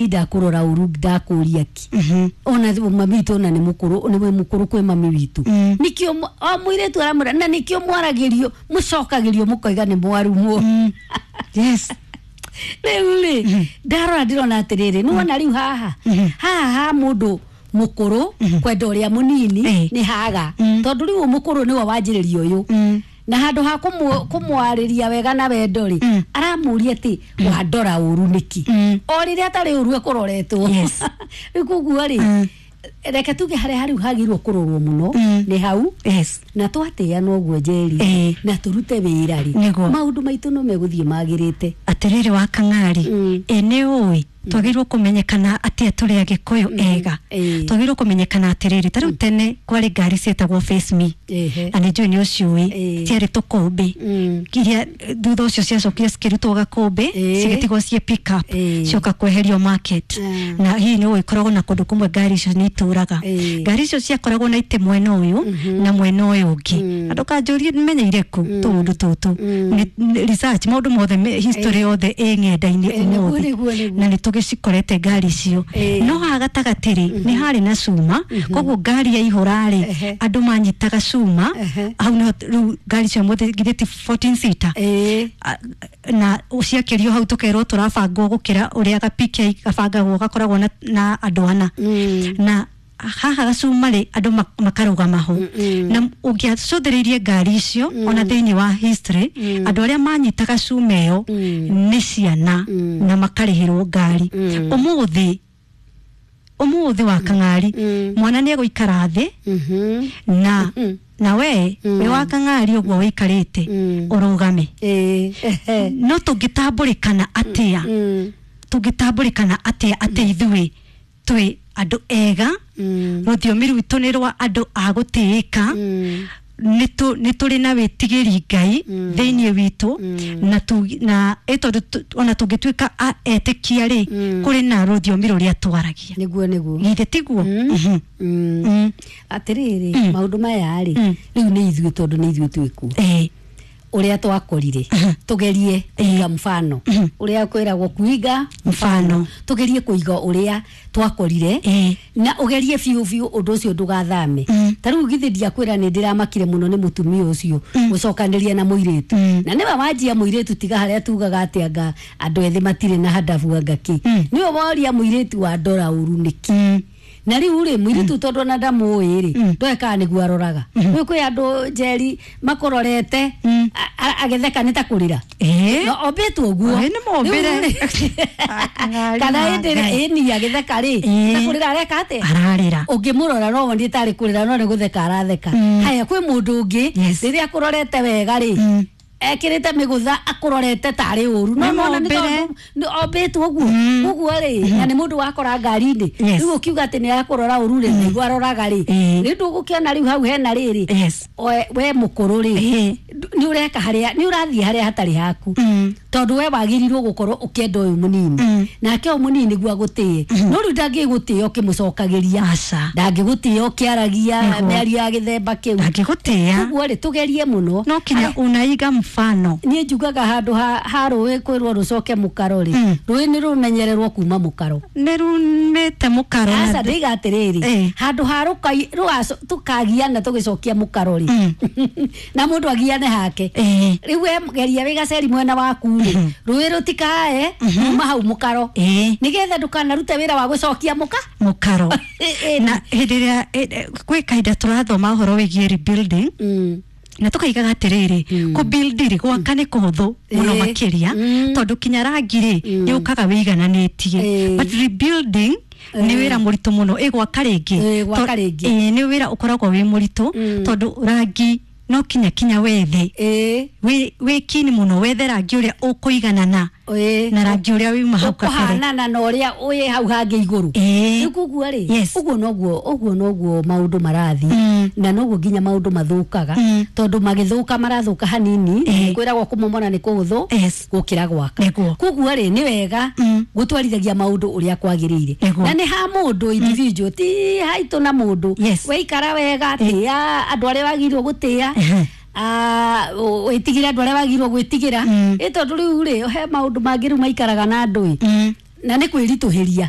Ndakũrora ũru, ndakũria ki ona mami witũ, ona nĩ mũkũrũ, nĩwe mũkũrũ kwĩ mami witũ. Nĩkĩo o mũirĩtu aramwĩra, na nĩkĩo mwaragĩrio, mũcokagĩrio, mũkoiga nĩ mwarumwo. Rĩu rĩ, ndarora ndĩrona atĩrĩrĩ, nĩwona rĩu haha haha ha mũndũ mũkũrũ kwenda ũrĩa mũnini nĩ haga, tondũ rĩu mũkũrũ nĩwe wanjĩrĩria ũyũ, na handũ ha kũmwarĩria wega na wendo rĩ, aramũria atĩ wandora ũru nĩkĩ, o rĩrĩa atarĩ ũru ekũroretwo. Rĩu koguo rĩ, reke tuge harĩa harĩu hagĩrĩirwo kũrorwo mũno nĩ hau. Na twatĩana ũguo, Njeri, na tũrute wĩra rĩ, maũndũ maitũ no megũthiĩ magĩrĩte. Atĩrĩrĩ wa Kang'ari, ĩ nĩ ũĩ twagĩrĩirwo kũmenyekana atĩa tũrĩ Agĩkũyũ ega? Twagĩrĩirwo kũmenyekana atĩrĩrĩ, ta rĩu tene kwarĩ ngari ciĩtagwo Face Me, na nĩ njũĩ nĩ ũciũĩ. Ciarĩ tũkũmbĩ iria thutha ũcio ciacokire cikĩrutwo gakũmbĩ, cigĩtigwo ciĩ pick up, cioka kweherio market. Na hihi nĩ ũĩ ĩkoragwo na kũndũ kũmwe ngari icio nĩ itũraga. Ngari icio ciakoragwo na itĩ mwena ũyũ na mwena ũyũ ũngĩ. Andũ kanjũrie menyeire kũ tũũndũ tũtũ. Nĩ research, maũndũ mothe history yothe ĩ ng'enda-inĩ ũmũthĩ. Nĩguo, nĩguo. Na nĩ tũgĩcikorete ngari icio. No haha gatagatĩ rĩ, nĩ harĩ na cuma, koguo ngari yaihũra rĩ, andũ manyitaga cuma hau nĩho. Rĩu ngari cio mothe githĩ ti 14 seater? Na ciakĩrio hau tũkerwo tũrabangwo gũkĩra ũrĩa ga PK gabangagwo, gakoragwo na andũ ana. Na haha gacuma rĩ, andũ makarũgama ho. Na ũngĩacũthĩrĩirie ngari icio, ona thĩinĩ wa history, andũ arĩa manyitaga cuma ĩyo nĩ ciana na makarĩhĩrwo ngari. Ũmũthĩ, ũmũthĩ wa Kang'ari, mwana nĩ egũikara thĩ na we wĩ wa Kang'ari ũguo wĩikarĩte ũrũgame. No tũngĩtambũrĩkana atĩa? Tũngĩtambũrĩkana atĩa atĩ ithuĩ twĩ andũ ega? Rũthiomi rwitũ nĩ rwa andũ a gũtĩĩka. Nĩ tũrĩ na wĩtigĩri Ngai thĩinĩ witũ, na ĩ tondũ ona tũngĩtuĩka a etĩkia rĩ, kũrĩ na rũthiomi rũrĩa twaragia. Nĩguo, nĩguo. Githĩ tiguo? Atĩrĩrĩ, maũndũ maya rĩ, rĩu nĩ ithuĩ, tondũ nĩ ithuĩ twĩkuo ũrĩa twakorire, tugerie kuiga mfano ũrĩa kwĩragwo kuiga mfano. Tugerie kuiga ũrĩa twakorire na ũgerie biũ biũ ũndũ ũcio ndũgathame. Ta rĩu githĩ ndiakwĩra nĩ ndĩramakire mũno nĩ mũtumia ũcio gũcokanĩria na mũirĩtu, na nĩwe wanjia mũirĩtu, tiga harĩa tugaga atĩ anga andũ ethĩ matirĩ na handabu, anga kĩ. Nĩwe woria mũirĩtu wa ndora ũru nĩkĩ. Na rĩu rĩ, mũirĩtu tondũ ona ndamũĩ rĩ, ndoe kana nĩguo aroraga. Rĩu kwĩ andũ, Njeri, makũrorete agĩtheka nĩ ta kũrĩra. No ombĩtwo ũguo. Ĩ, nĩ mũmbĩre. Rĩu rĩ, kana hĩndĩ ĩrĩa ĩni agĩtheka rĩ, ta kũrĩra areka atĩa? Ararĩra. Ũngĩmũrora no wone tarĩ kũrĩra, no nĩ gũtheka aratheka. Haya, kwĩ mũndũ ũngĩ rĩrĩa akũrorete wega rĩ, ekĩrĩte mĩgũtha, akũrorete tarĩ ũru, no Nĩ nona nĩ mũmbĩre. tondũ nĩ ombĩtwo ũguo. Ũguo rĩ, na nĩ mũndũ wakora ngari-inĩ, rĩu ũkiuga atĩ nĩ akũrora ũru rĩ, nĩguo aroraga rĩ, rĩu ndũgũkĩona rĩu hau hena rĩrĩ. We mũkũrũ rĩ, nĩ ũreka harĩa nĩ ũrathiĩ harĩa hatarĩ haku, tondũ we wagĩrĩirwo gũkorwo ũkĩenda ũyũ mũnini, nake ũyũ mũnini nĩguo agũtĩe, no rĩu ndangĩgũtĩĩa ũkĩmũcokagĩria. Aca. Ndangĩgũtĩĩa ũkĩaragia mĩario ya gĩthemba kĩu. Ndangĩgũtĩĩa. Ũguo rĩ, tũgerie mũno. No kinya unaiga mfano. Niĩ njugaga handũ ha rũĩ kwĩrwo rũcoke mũkaro rĩ, rũĩ nĩ rũmenyererwo kuma mũkaro. Nĩ rumĩte mũkaro na Aca, ndĩiga atĩrĩrĩ, handũ ha tũkagiana tũgĩcokia mũkaro rĩ, na mũndũ agiane hake. Rĩu we geria wĩ gaceri mwena waku rĩ, rũĩ rũtikae kuma hau mũkaro, nĩgetha ndũkanarute wĩra wa gũcokia mũka mũkaro. Na hĩndĩ ĩrĩa gwĩ kahinda tũrathoma ũhoro wĩgiĩ rebuilding, na tukaigaga atĩrĩrĩ, kũ build rĩ, gwaka nĩ kũhũthũ mũno makĩria, tondũ kinya rangi rĩ, nĩ ũkaga wĩigananĩtie. But rebuilding nĩ wĩra mũritũ mũno, ĩ gwaka rĩngĩ. Gwaka rĩngĩ. Ĩ, nĩ wĩra ũkoragwo wĩ mũritũ, tondũ rangi no kinya wethe wĩ kini mũno wethe rangi ũrĩa ũkũiganana na rangi ũrĩa wĩuma hau kabere. Ũkũhanana na ũrĩa wĩ hau hangĩ igũrũ. Rĩu koguo rĩ, ũguo noguo maũndũ marathiĩ, na noguo nginya maũndũ mathũkaga, tondũ magĩthũka marathũka hanini. Kwĩragwo kũmomora nĩ kũhũthũ gũkĩra gwaka. Koguo rĩ, nĩ wega gũtwarithagia maũndũ ũrĩa kwagĩrĩire. Na nĩ ha mũndũ individual, ti haitũ na mũndũ. Weikara wega, tĩa andũ arĩa wagĩrĩirwo gũtĩa, wĩtigĩre andũ arĩa wagĩrĩirwo gwĩtigĩra. Ĩ tondũ rĩu rĩ, he maũndũ mangĩ rĩu maikaraga na andũ ĩ. Na nĩ kwĩritũhĩria.